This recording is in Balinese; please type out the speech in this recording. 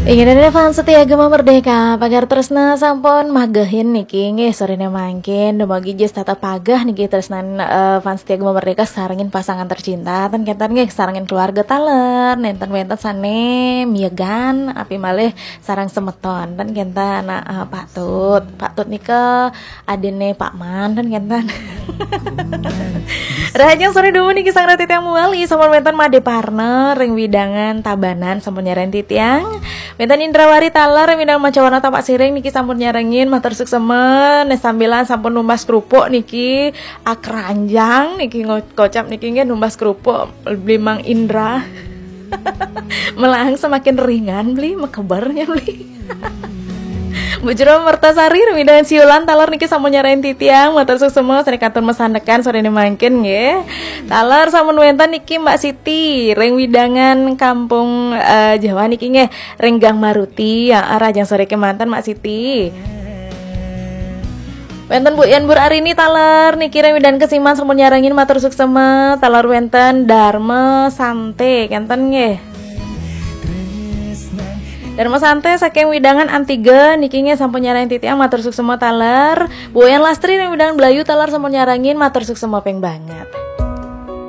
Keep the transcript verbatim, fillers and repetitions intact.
Inggih, fans setia Gema Merdeka, pagar tresna sampun magehin niki nggih sorene mangkin. Dumugi jus tetep pageh niki tresnan, eh, fans setia Gema Merdeka sarengin pasangan tercinta, ten kenten nggih sarengin keluarga taler, nenten wenten sane miyegan, api malih sareng semeton, ten kenten. Nah, eh, Pak Tut, Pak Tut nika adine Pak Man, ten kenten. Rahajeng sore dumun niki sareng titiang muali, sampun wenten Made Parna ring wewidangan Tabanan sampun nyarengin titiang. Wenten Indrawari taler ring wewidangan Macawana Tampaksiring niki sampun nyarengin, matur suksema. Nih sambilan sampun numbas kerupuk niki, akranjang niki ngo-, kocap niki nggih numbas kerupuk beli Mang Indra. Melang semakin ringan beli, mekebernya beli. Bu Jero Mertasari, ring wewidangan Siulan taler niki sampun nyarengin titiang, matur suksema, sane kantun masandekan sorene mangkin nggih. Taler sampun wenten niki Mbak Siti ring wewidangan Kampung, eh, Jawa niki nggih, ring Gang Maruti. Ya, rahajeng sore kemanten Mbak Siti. Wenten Bu Yan Bur Arini taler niki ring wewidangan Kesiman sampun nyarengin, matur suksema. Taler wenten Darma Sante kenten nggih. Darma Sante saking wewidangan Antiga niki nggih sampun nyarengin titiang, matur suksema taler. Bu Yan Lastri ring wewidangan Blayu taler sampun nyarengin, matur suksema ping banget.